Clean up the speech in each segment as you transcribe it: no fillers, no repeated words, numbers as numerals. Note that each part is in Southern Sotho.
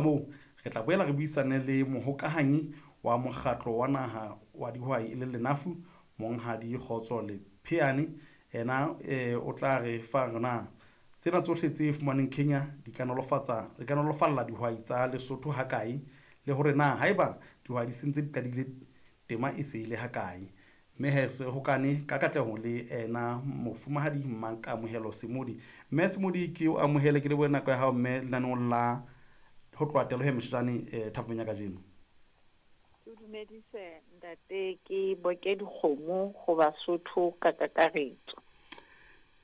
Moo re tla boela re buisane le mohokahanyi wa mokgatlo wa naha wa dihwai e leng Lenafu, Monghadi Kgotso Lepheane. Ena o tla re fa hore na tsena tsohle tse fumanweng Kenya di ka nolofatsa di ka nolofalla dihwai tsa Lesotho hakae, le hore na haeba dihwai di sentse di qadile tema e se e le hakae. Mme he se hokane ka katleho le ena Mofumahadi Makamohelo Semodi. Mme Semodi, ke o amohele, ke lebohe nako ya hao mme lenaneong la ho tloha Telohe Meshane thapameng ya kajeno. Ke o dumedise ntate, ke boke dikgomo ho Basotho ka kakaretso.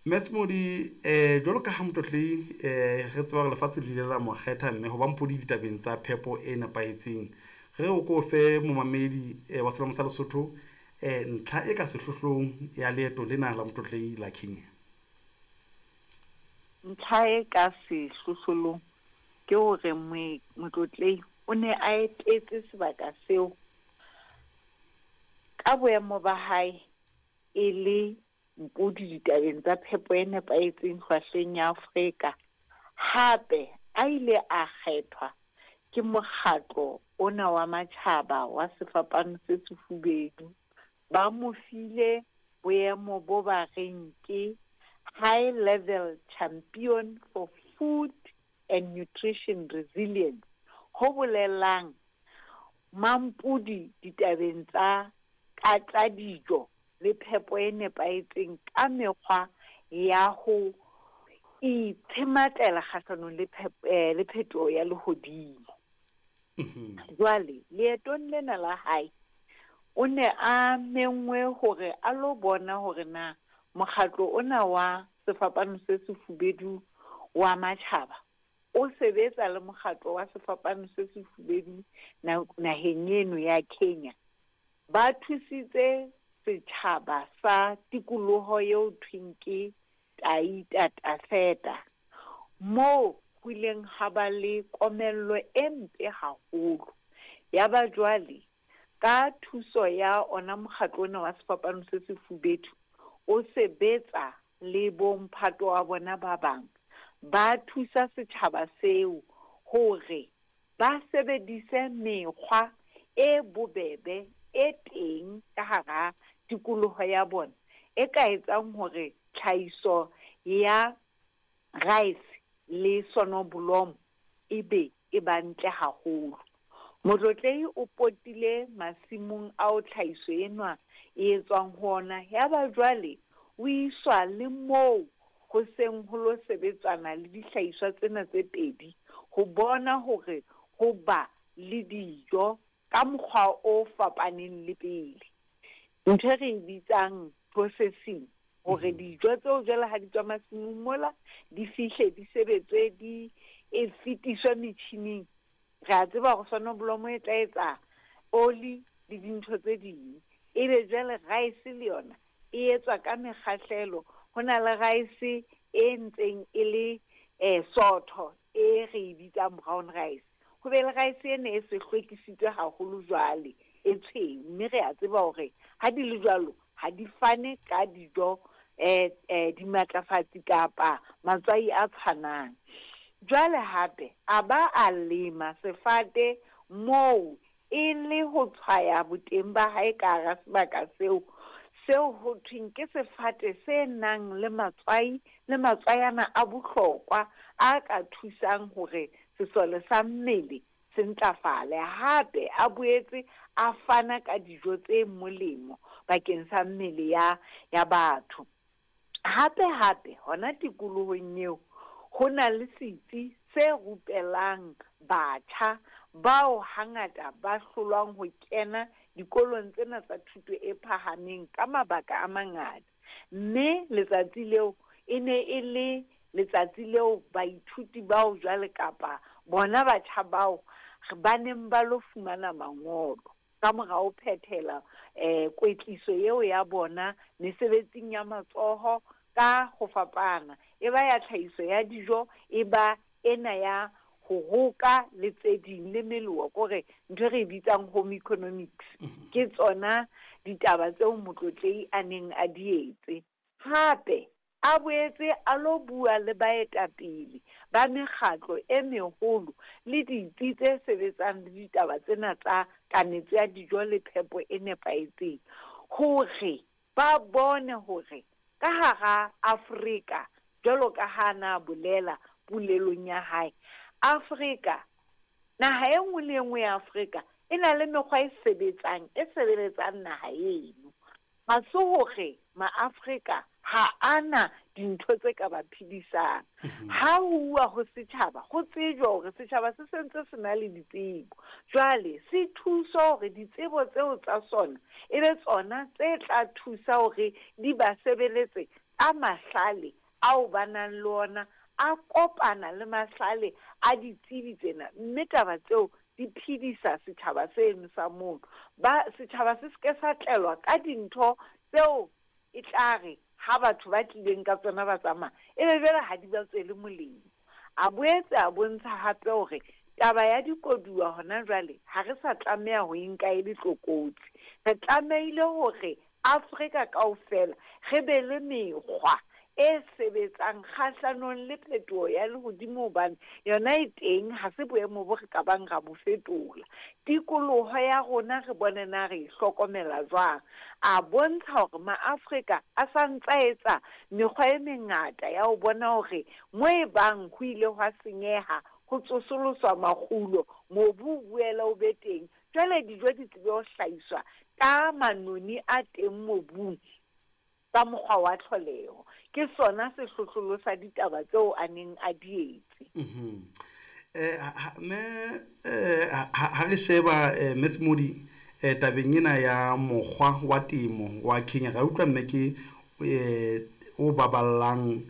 Mme Semodi, jwalo ka ha Motlotlehi re tseba hore lefatshe le ile la mo kgetha mme ho ba mpodi ditabeng tsa phepo e nepahetseng, re o ko fe momamedi wa Selamo sa Lesotho ntlha e ka sehlohlong ya leeto lena la Motlotlehi la Kenya. Ntlha e ka sehlohlolong ke hore Motlotlehi o ne a etetse sebaka seo ka boemo ba hae e le mpodi ditabeng tsa phepo e nepahetseng hlwahlweng ya Afrika. Hape a ile a kgethwa ke mokgatlo ona wa matjhaba wa sefapano se sefubedu. Ba mo file boemo bo ba reng ke High Level Champion for Food and Nutrition Resilience, ho bolelang mampodi ditabeng tsa ka tsa dijo le phepo e nepahetseng ka mekgwa ya ho itshematlela kgahlanong le le phetoho ya lehodimo. Jwale, leetong lena la hae, o ne a menngwe hore a lo bona hore na mokgatlo ona wa Sefapano se Sefubedu wa Matjhaba o sebetsa le mokgatlo wa Sefapano se Sefubedu naheng eno ya Kenya. Ba thusitse setjhaba sa tikoloho eo thweng ke Taita Taveta, moo ho ileng ha ba le komello e mpe haholo. Yaba jwale, ka thuso ya ona mokgatlo ona wa Sefapano se Sefubedu, o sebetsa le bomphato wa bona ba bang, ba thusa setjhaba seo hore ba sebedise mekgwa e bobebe e teng ka hara tikoloho ya bona e ka etsang hore tlhahiso ya rice le sonoblomo ebe e ba ntle haholo. Motlotlehi o potile masimong ao tlhahiso enwa e etswang ho ona yaba jwale o iswa le moo ho seng ho lo sebetswana le dihlahiswa tsena tse pedi ho bona hore ho ba le dijo ka mokgwa o fapaneng le pele. Ntho e re e bitsang processing, hore dijo tseo jwale ha di tswa masimong mola di fihle di sebetswe di e fetiswe metjhining. Re a tseba hore sonoblomo e tla etsa oli le dintho tse ding. Ebe jwale rice le yona e etswa ka mekgahlelo. Ho na le rice e ntseng e le sootho e re e bitsang brown rice. Ho be le rice ena e se hlwekisitswe haholo jwale e tshweu, mme re a tseba hore ha di le jwalo ha di fane ka dijo dimatlafatsi kapa matswai a tshwanang. Jwale hape a ba a lema sefate moo e le ho tshwaya boteng ba hae ka hara sebaka seo, seo ho thweng ke sefate se nang le matswai le matswayana a bohlokwa a ka thusang hore sesole sa mmele se ntlafale. Hape a boetse a fana ka dijo tse molemo bakeng sa mmele ya ya batho. Hape hape hona tikolohong eo ho na le setsi se rupelang batjha bao hangata ba hlolwang ho kena dikolong tsena tsa thuto e phahameng ka mabaka a mangata. Mme letsatsi leo e ne e le letsatsi leo baithuti bao jwale kapa bona batjha bao ba neng ba lo fumana mangolo ka mora ho phethela kwetliso eo ya bona mesebetsing ya matsoho ka ho fapana, e ba ya tlhahiso ya dijo, e ba ena ya ho roka le tse ding le meloa, kore ntho e re e bitsang home economics. Ke tsona ditaba tseo Motlotlehi a neng a di etse. Hape A boetse a lo bua le baetapele ba mekgatlo e meholo le ditsi tse sebetsang le ditaba tsena tsa kanetso ya dijo le phepo e nepahetseng hore ba bone hore ka hara Afrika, jwalo ka ha a na bolela polelong ya hae, Afrika, naha e nngwe le e nngwe ya Afrika e na le mekgwa e sebetsang, e sebeletsang naha eno. Ha se hore Maafrika ha a na dintho tse ka ba phedisang. Ha ho uwa ho setjhaba, ho tsejwa hore setjhaba se sentse se na le ditsebo. Jwale se thuswa hore ditsebo tseo tsa sona e be tsona tse tla thusa hore di ba sebeletse ka mahlale ao ba nang le ona, a kopana le mahlale a ditsebi tsena, mme taba tseo di phedisa setjhaba seno sa mono. Ba, setjhaba se se ke sa tlelwa ka dintho tseo e tla re ha batho ba tlileng ka tsona ba tsamaya, e be jwale ha di ba tswele molemo. A boetse a bontsha hape hore taba ya dikoduwa hona jwale ha re sa tlameha ho e nka e le tlokotsi. Re tlamehile hore Afrika kaofela re be le mekgwa e sebetsang kgahlanong le phetoho ya lehodimo hobane yona e teng, ha se boemo bo re ka bang ra bo fetola. Tikoloho ya rona re bone na re e hlokomela jwang. A bontsha hore Maafrika a sa ntsa etsa mekgwa e mengata ya ho bona hore mo e bang ho ile hwa senyeha, ho tsosoloswa makgulo, mobu o boele o be teng, jwale dijo di tsebe ho hlahiswa ka manoni a teng mobung ka mokgwa wa tlholeho. Ke sona sehlohlolo sa ditaba tseo a neng a di etse. Mme ha re sheba Mme Smodi tabeng ena ya mokgwa wa temo wa Kenya, ra utlwa mme ke o baballang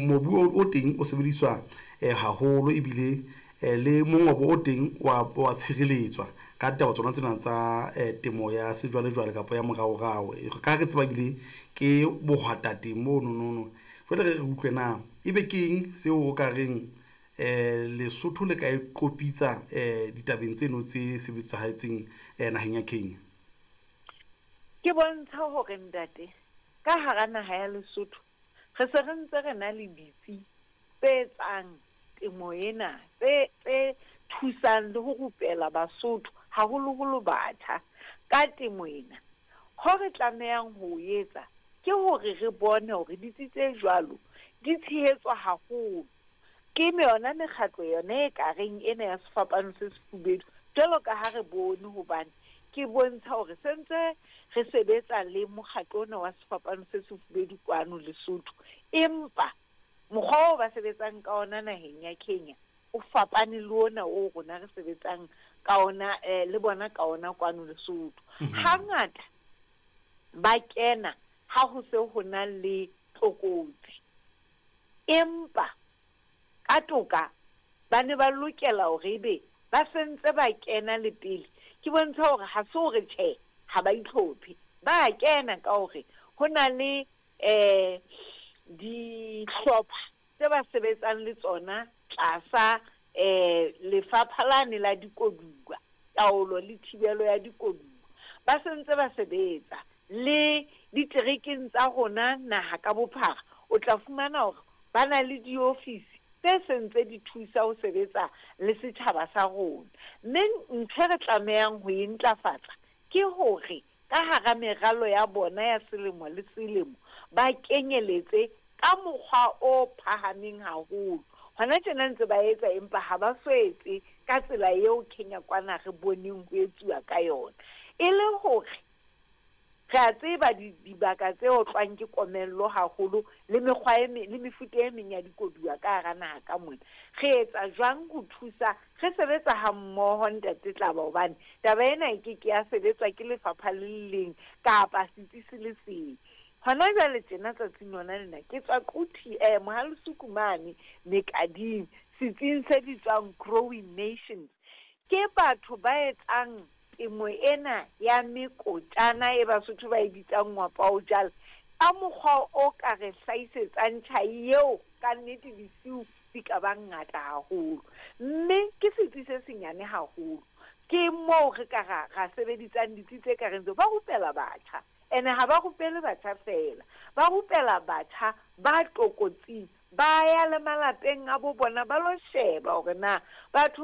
mobu o teng o sebediswa haholo ebile le mongobo o teng wa tshireletswa ka taba tsona tsena tsa temo ya sejwalejwale kapa ya moraorao. Ka re tseba ebile ke bohwatateng mononono. Jwale re re utlwe na ebe ke eng seo o ka reng Lesotho le ka e qopitsa ditabeng tseno tse sebetsahetseng naheng ya Kenya? Ke bontsha hore ntate, ka hara naha ya Lesotho re se re ntse re na le ditsi tse etsang temo ena, tse tse thusang le ho rupela Basotho, haholoholo batjha, ka temo ena. Ho re tlamehang ho o etsa ke hore re bone hore ditsi tse jwalo di tshehetswa haholo ke yona mekgatlo yona e ka reng ena ya Sefapano se Sefubedu, jwalo ka ha re bone hobane ke bontsha hore se ntse re sebetsa le mokgatlo ona wa Sefapano se Sefubedu kwano Lesotho, empa mokgwa oo ba sebetsang ka ona naheng ya Kenya o fapane le ona o rona re sebetsang ka ona le bona ka ona kwano Lesotho. Hangata ba kena ha ho se ho na le tlokotsi, empa ka toka ba ne ba lokela hore ebe ba sentse ba kena le pele. Ke bontsha hore ha se hore tjhe ha ba itlhophe, ba kena ka hore ho na le dihlopha tse ba sebetsang le tsona tlasa lefapha lane la dikoduwa, taolo le thibelo ya dikoduwa. Ba sentse ba sebetsa le diterekeng tsa rona naha ka bophara. O tla fumana hore ba na le diofisi tse sentse di thusa ho sebetsa le setjhaba sa rona. Mme ntho e re tlamehang ho e ntlafatsa ke hore ka hara meralo ya bona ya selemo le selemo ba kenyeletse ka mokgwa o phahameng haholo. Hona tjena ntse ba etsa, empa ha ba so etse ka tsela eo Kenya kwana re boneng ho etsuwa ka yona. E le hore re a tseba dibaka tse otlwang ke komello haholo le mekgwa e le mefuta e meng ya dikoduwa ka hara naha ka mona. Re etsa jwang ho thusa? Re sebetsa ha mmoho ntate Tlaba, hobane taba ena e ke ke ya sebetswa ke lefapha le le leng kapa setsi se le seng. Hona jwale tjena tsatsing lona lena ke tswa Quthi, Mohalesuku mane Mekading, setsing se bitswang Growing Nations. Ke batho ba etsang temo ena ya mekotjana e Basotho ba e bitsang ngwapaojala ka mokgwa o ka re hlahisetsang tjhai eo ka nnete disiu di ka bang ngata haholo. Mme ke setsi se senyane haholo. Ke moo re ka ra sebedisang ditsi tse ka reng tseo. Ba rupela batjha, ene ha ba rupele batjha feela, Ba rupela batjha ba tlokotsing, ba ya le malapeng a bo bona ba lo sheba hore na batho